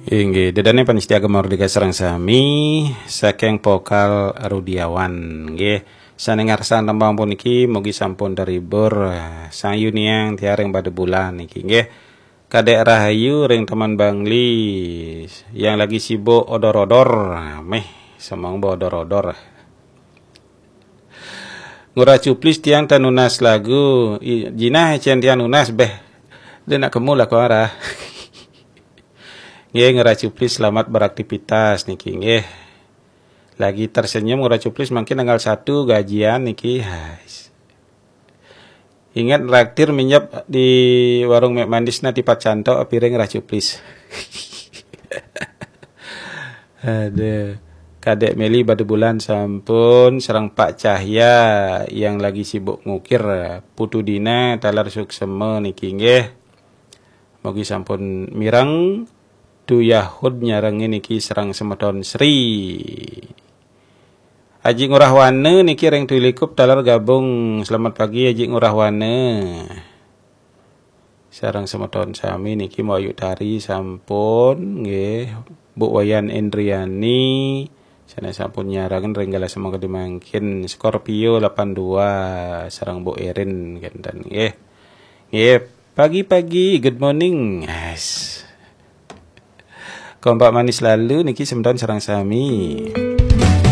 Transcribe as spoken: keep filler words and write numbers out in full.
Inggih, ida dané pamiarsa Gema Merdeka sareng sami, saking Pokal Rudiawan. Inggih, sané ngarsang tembang puniki mugi sampun terhibur. Sang Yuniang tiang ring Bada Bulan niki, inggih. Kadek Rahayu ring Taman Bangli, yang lagi sibuk odor-odor. Méh, semeng bo odor-odor. Ngurah Cuplis tiang tan nunas lagu. I- Jinah cén tiang nunas béh. Dia nak kemu lah kuara. Nggih, Ngurah Cuplis, selamat beraktivitas niki, nggih. Lagi tersenyum Ngurah Cuplis, mungkin tanggal satu gajian niki. Hais. Ingat traktir minyep di warung Mek Manis na tipat cantok piring Ngurah Cuplis. Aduh. Kadek Meli Bada Bulan sampun, sareng Pak Cahya yang lagi sibuk ngukir. Putu Dina taler suksema niki, nggih. Mugi sampun mireng. Tu Yahud nyarengin niki sareng semeton Sri. Aji Ngurah Wana niki ring Twilikup taler gabung. Selamat pagi Aji Ngurah Wana. Sareng semeton sami niki Mbok Ayu Tari sampun, nggih. Bu Wayan Indriani, sané sampun nyarengin ring galah semangkadi mangkin. Scorpio delapan dua, sareng Bu Erin kénten, nggih. Nggih, pagi-pagi, good morning. Yes. Kompak manis lalu niki semeton sareng sami.